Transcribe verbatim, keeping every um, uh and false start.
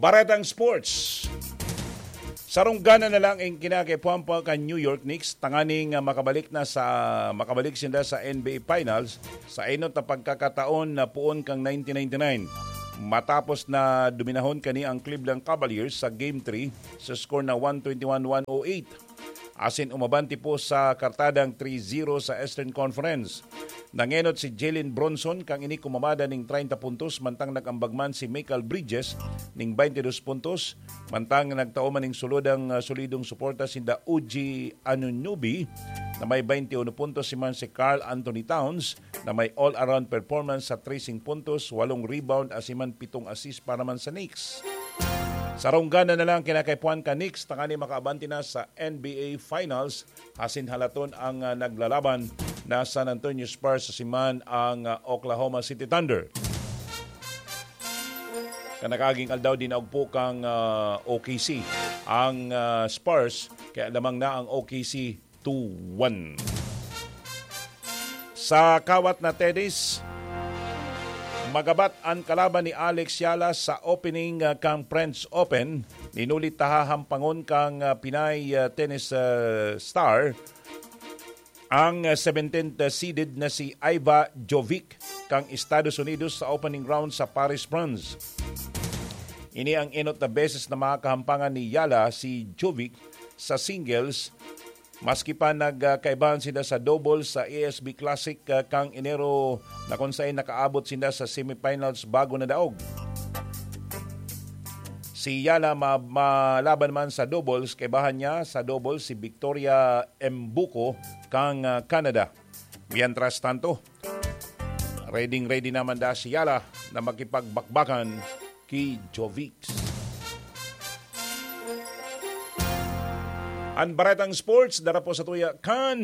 Baretang Sports. Sarong gana na lang ang kinakaipuhan pa kan New York Knicks tanganing, ah, makabalik na sa makabalik sinda sa N B A Finals sa enot na pagkakataon na poon kang nineteen ninety-nine, matapos na dominahon kani ang Cleveland Cavaliers sa Game three sa score na one twenty-one one oh eight. Asin umabante po sa kartadang three zero sa Eastern Conference. Nangenot si Jalen Brunson kan ini kumamada ning treinta puntos, mantang nag-ambag man si Mikal Bridges ning baintidos puntos, mantang nagtao man ning sulod ang, ah, solidong suporta sinda Uji Anunoby na may baintiuno puntos, si man si Karl Anthony Towns na may all-around performance sa trese puntos, walong rebound, asin man pitong assist para man sa Knicks. Sarong gana na lang kinakaipuhan kan Knicks tanganing makaabante na sa N B A Finals, asin halaton ang, ah, naglalaban na San Antonio Spurs, asin man ang, ah, Oklahoma City Thunder. Kan nakaaging aldaw, dinaog po kan, ah, O K C ang, ah, Spurs, kaya lamang na ang O K C two one. Sa kawat na tennis, magabat an kalaban ni Alex Yala sa opening, ah, kan French Open. Inulit ta hahampangon kan, ah, Pinay, ah, tennis, ah, star, ang, ah, seventeenth seeded na si Iva Jovic kan Estados Unidos sa opening round sa Paris, France. Ini ang enot na beses na makakahampangan ni Yala si Jovic sa singles, maski pa nagkaibahan sila sa doubles sa A S B Classic, ah, kan Enero, na kung saan nakaabot sila sa semifinals bago nadaog. Si Yala ma-, malaban man sa doubles, kaibahan niya sa doubles si Victoria Mbuko kan, ah, Canada. Mientras tanto, ready-ready naman da si Yala na makipagbakbakan ki Jovic. An Baretang Sports, dara po sa tuya kan